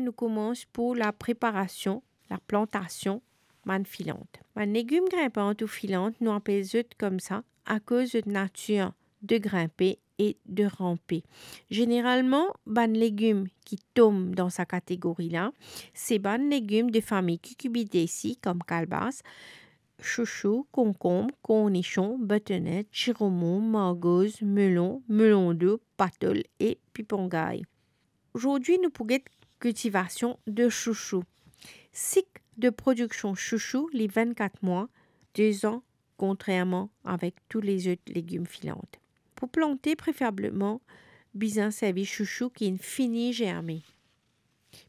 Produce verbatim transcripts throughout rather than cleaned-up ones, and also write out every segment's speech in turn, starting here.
nou koumans pou lapreparasion, laplantasion bann filant. Bann legim grinpant ou filant, nou apel zot koumsa akoz zot natir de grinpe e de ranpe. Zeneralman, bann legim ki tom dan sa kategori la, se bann legim de fami Cucurbitaceae, kom kalbas, sousou, konkonm, kornision, butternut, siromon, margoz, melon, melon dou, patol e pipongay. Zordi nou pou get kiltivasion de sousou. Sik de prodiksion sousou, li vennkat mwa, de zan, kontrerman avek tou lezot legim filant. Pou plante, preferableman, bizin servi sousou ki finn fini zerme.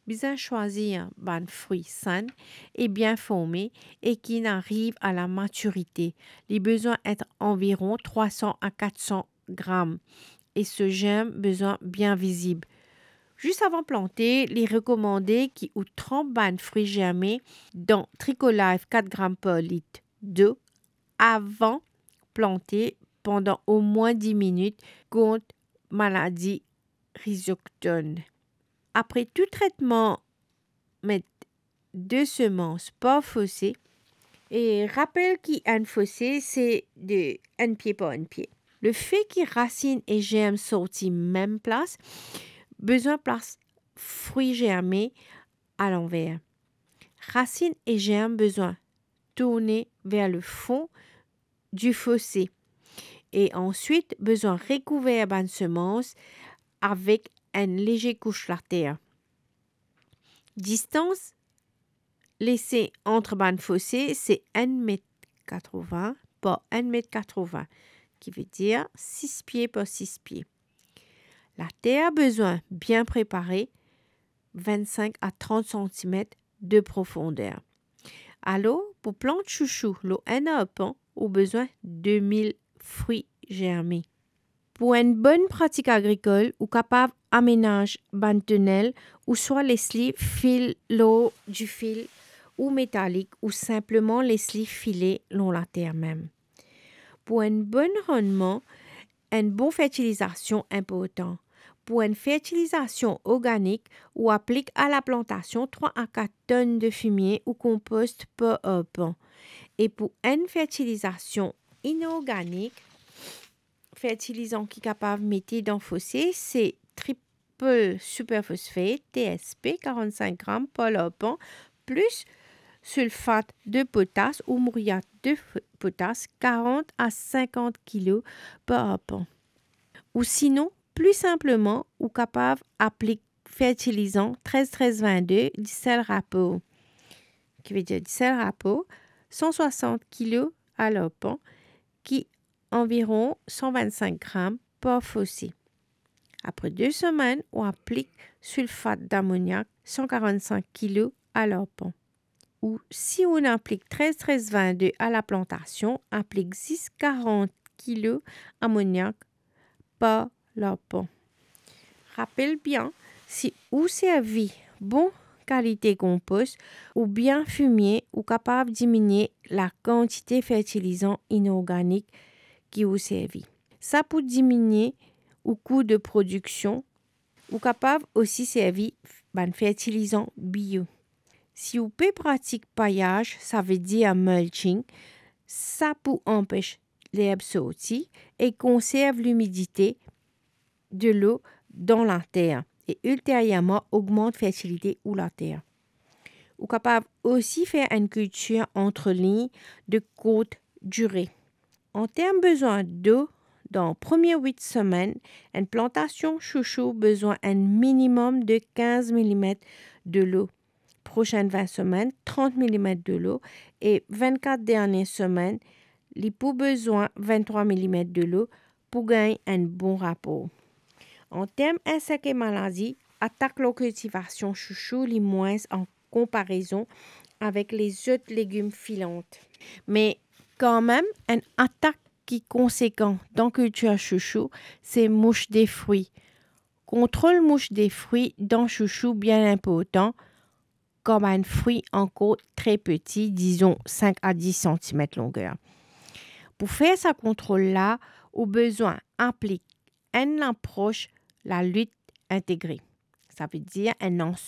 Bizin swazir bann fri sann e bien forme e ki finn ariv a lamatirite. Li bizin et anviron trwa san a kat san gram e so zerm bizin bien vizib. Zis avan plante, li rekomande ki ou tranp bann fri zerme dan Tricolife kat gram par lit dlo avan plante pandan omwin dis minit kont maladi rhizoctone. Apre tou tretman, met de semans par fose. E rapel ki enn fose, se de enn pie par enn pie. Lefe ki rasinn e zerm sorti mem plas, bizin plas fri zerme alanver. Rasinn e zerm bizin tourne ver lefon di fose e answit bizin rekouver bann semans avek enn leze kous later. Distans lese ant bann fose se enn met katrevin par enn met katrevin, ki vedir sis pie par sis pie. Later bizin bien prepare, vennsenk a trant santimet de profonder. Alor, pou plant sousou lor enn arpan, ou bizin de mil fri zerme. Pou enn bonn pratik agrikol, ou kapav amenaz bann tonel ouswa les li fil lor difil ou metalik ou sinpleman les li file lor later mem. Pou enn bonn rannman, enn bon fertilizasion inportan. Pou enn fertilizasion organik, ou aplik a laplantasion trwa a kat tonn de fimie ou konpost par arpan. E pou enn fertilizasion inorganik, fertilizan ki kapav mete dan fose, se triple superphosphate, T S P, karannsink gram par larpan, plis sulfat de potas ou mouryat de f-, potas, karant a sinkant kilo par arpan. Ou sinon, pli sinpleman, ou kapav aplik fertilizan trez trez vennde, disel rapor, ki vedir disel rapor, san swasant kilo a larpan, ki anviron san vennsenk gram par fose. Apre de semenn, ou aplik sulfat damoniak san karannsenk kilo a larpan. Ou si ou aplik trez trez vennde a laplantasion, aplik zis karant kilo amoniak par larpan. Rapel bien, si ou servi bon kalite konpos oubien fimie, ou kapav diminie lakantite fertilizan inorganik ki ou servi. Sa pou diminie ou kou de prodiksion. Ou kapav osi servi bann fertilizan bio. Si ou pe pratik payaz, savedir mulching, sa pou anpes lerb sorti e konserv limidite delo dan later e ilterierman ogmant fertilite ou later. Ou kapav osi fer enn kiltir antre lign de kourt dire. An term bizin dlo, dan premie wit semenn, enn plantasion sousou bizin enn minimem de kinz milimet delo. Prosenn vin semenn, trant milimet delo e vennkat dernie semenn, li pou bizin venntrwa milimet delo pou gagn enn bon rapor. An term insek e maladi, atak lor kiltivasion sousou li mwins an konparezon avek lezot legim filant. Me kanmem, enn atak ki konsekan dan kiltir sousou, se mous de fri. Kontrol mous de fri dan sousou bien inportan, kan bann fri ankor tre peti, dizon sink a dis santimet longer. Pou fer sa kontrol la, ou bizin aplik enn lapros lalit integre. Savedir enn ansanm